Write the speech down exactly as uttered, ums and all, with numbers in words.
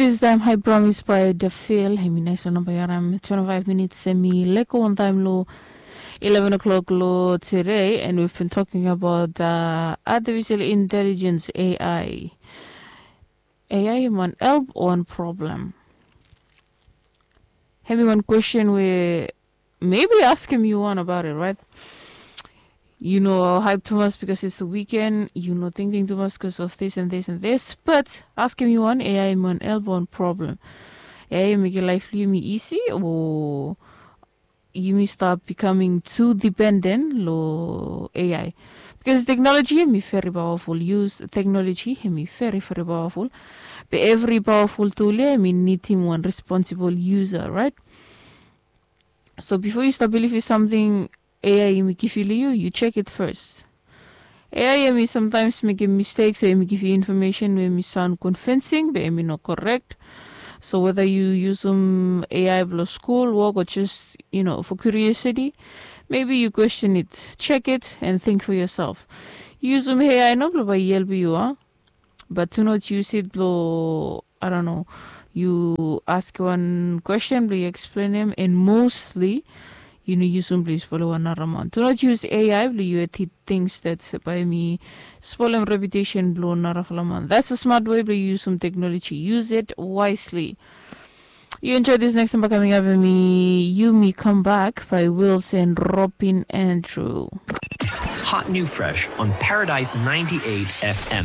This time, hai promise by the field. Hemi nice lo namba yaram. Twenty-five minutes hemi leko wantaem lo eleven o'clock lo today, and we've been talking about uh, artificial intelligence, A I. A I hemi wan help o wan problem? Hemi wan question we maybe askem yu wan about it, right? Yu no hype tumas because it's the weekend, yu no tingting tumas because of this and this and this, but askem yu wan, A I hemi wan help o wan problem? A I hemi mekem laef blo yumi isi o yumi stap becoming too dependent lo A I? Because technology hemi very powerful, use technology hemi very very powerful. Be every powerful tool ia hemi nidim wan responsible user, right? So bifo yu stap bilivim samting A I hemi givim lo yu, yu check it first. A I hemi sometimes mekem mistake, so hemi givim information we hemi sound convincing be hemi no correct. So whether yu yusum A I blo school work or just, you know, for curiosity, maybe you question it, check it and think for yourself. Yu yusum A I no blo bae i helpem yu, a? But do not use it blo, I don't know, yu ask wan question blo yu explain em, and mostly yu no yusum blo yu spolem wan nara man. Do not use A I blo yu edit things that bae hemi spolem reputation blo narafala man. That's a smart way blo yu yusum technology. Use it wisely. You enjoy this next number coming up, and me, you, me come back by Wilson Robin Andrew. Hot new fresh on Paradise ninety-eight F M.